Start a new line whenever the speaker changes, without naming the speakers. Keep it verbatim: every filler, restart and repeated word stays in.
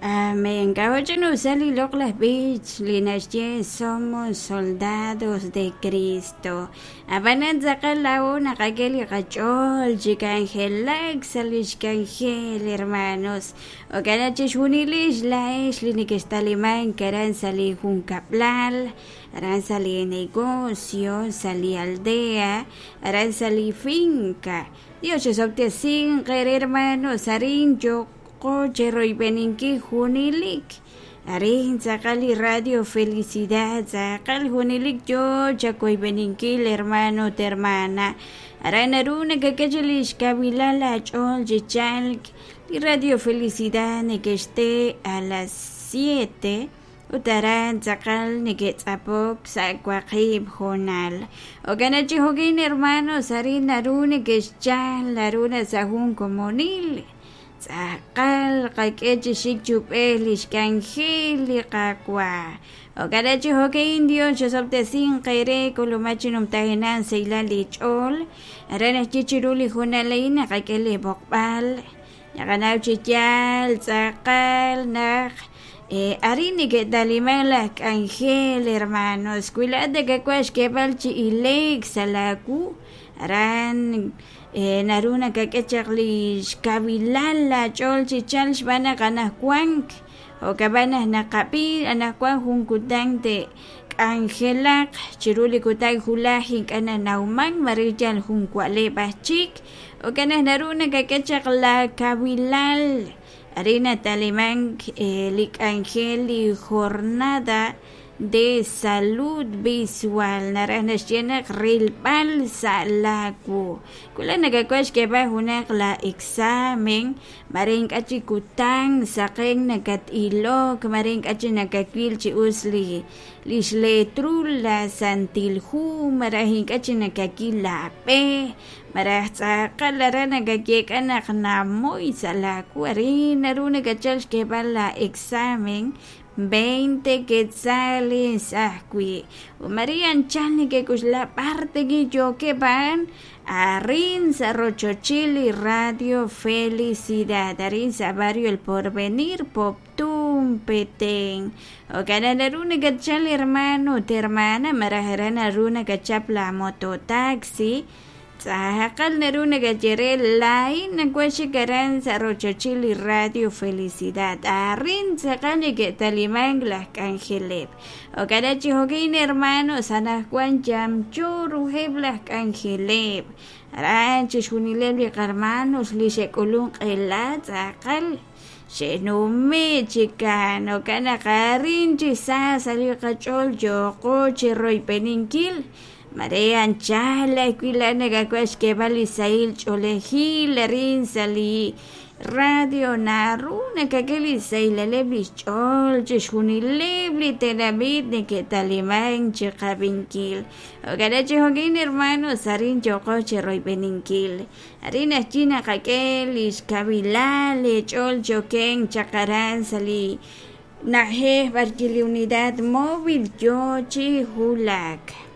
Amén. K'a'uch'inusal li loq'laj b'ich li naxye somos soldados de Cristo. Ab'anan tz'aqal laa'o naqak'e li qach'ool chi k'anjelak sa' lix k'anjel, hermanos. Jo'kan chixjunilix laa'ex li nekextalimank aran sa' li junkab'lal, aran sa' li negocio, sa' li aldea, aran sa' li finca. Dios chesob'tesinq eere, hermanos, arin yo'qo cheroyb'eninkil junilik. Arin tz'aqal li Radio Felicidad, tz'aqal junilik yo chakoyb'eninkil, hermano ut hermana. Aran naru nakak'e lix kavilal aach'ool chi chalk. Li Radio Felicidad nekexte a las siete ut aran tz'aqal neke'tz'apok sa' waqib' hoonal. Jo'kan chi jo'kin, hermanos, arin naru nekexchal, naru na sa' jun komonil. Tz'aqal qak'e chi xik chub'ej lix k'anjel li Qaawa'. Jo'kan chi jo'kin, Dios chesob'tesinq eere k'ulumaj chi numtajenaq saylal li ch'ool. Aran ajwi' chiru li hoonal a'in naqak'e li b'oqb'al. Naqanaw chi yaal tz'aqal naq eh, arin neke'taliman laj k'anjel, hermanos. Wi laa'at nakawaj xk'eeb'al chi ileek sa' laawu, aran eh, naru nakak'e chaq li xkawilal laach'ool chi chal xb'aan naq anajwank. Jo'kab'an naq naqab'i anajwan jun kutan te'k'anjelaq chiru li kutan julaj ink'a' nanawman mare yal jun wa'leb' aj chik. Jo'kan naq naru nakak'e chaq la kawilal. Arin natalimank eh, li k'anjel li jornada de salud visual naraj naxye naq rilb'al sa' laawu. Wila nakawaj xk'eeb'al junaq la examen mare ink'a' chi kutan saqen nakat-ilok mare ink'a' chi nakawil chi us li lix letrul la santil hu maraj ink'a' chi nakakil la b'e maraj tz'aqal aran nakakyeek'a naq namoy sa' laawu. Arin naru nakachal xk'eeb'al la examen veinte quetzales ajwi'. Maria anchal nekek'uxla b'ar tegi yookeb' a'an arin sa' rochochil li Radio Felicidad, arin sa' barrio El Porvenir, Poptún, Petén. Jo'kan naru nakachal hermano ut hermana maraj aran naru nakachap la mototaxi. Tz'aqal naru nakayere laa'in nawaj xik aran sa' rochochil li Radio Felicidad. Arin tz'aqal neke'talimank laj k'anjeleb'. Jo'kan chi jo'kin, hermanos, anajwan yamyo ruheb' laj k'anjeleb'. Aran chixjunileb' li qarmanos li xe'k'ulun q'ela tz'aqal xe'nume' chikan. Jo'kan naq arin chi sa sa' li qach'ool yo'qo chiroyb'eninkil. Mare anchal ajwi' laa'at nakawaj xk'eeb'al li sahil ch'oolejil arin sa' li radio naru nakak'e li sahilaleb' lix ch'ool chixjunileb' li tenamit neke'talimank chiqab'inkil. Jo'kan chi jo'kin, hermanos, arin yo'qo chiroyb'eninkil. Arin ajwi' naqak'e lix kawilal li ch'ool choken chaq aran sa' li na'ajej b'arwi' li unidad móvil yo chi wulak.